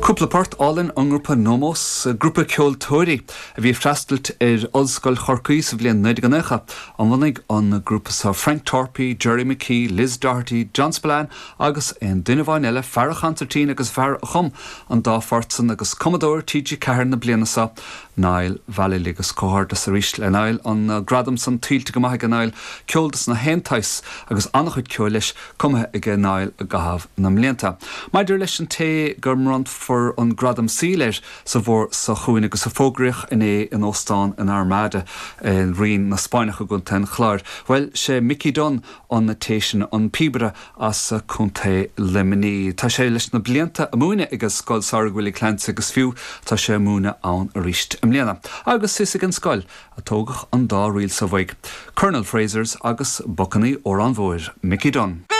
Cúpla port álainn ón ngrúpa Nomos, grúpa ceoltóirí a bhí ag freastailt ar Ollscoil Chorcaí sa bhliain 1990, a bhunaigh an grúpa seo, Frank Torpey, Gerry McKee, Liz Doherty, John Spillane agus aon duine amháin eile, fear an chansairtín agus fear a chum an dá phort san agus cumadóir TG4 na bliana seo, Niall Vallely agus comhghairdeas arís le Niall, an gradam san tuillte go maith aige Niall, ceol dos na haon tsaghas agus an-chuid ceoil leis cumtha aige Niall i gcaitheamh na mblianta. Maidir leis an té go mbronnfar an gradam saoil air sa bhfómhar seo chugainn agus a fógraíodh inné in óstán in Armada i Rinn na Spáinneach i gContae an Chláir, bhuel, sé Mickey Dunne an té sin, an píobaire as Contae Luimnigh. Tá sé leis na blianta ag múineadh ag Scoil Samhraidh Willie Clancy agus fiú tá sé ag múineadh ann arís i mbliana. Agus is ag an scoil a tógadh an dá ríl seo uaidh, Colonel Frasers agus Bacannaí Órán Mhóir, Mickey Dunne.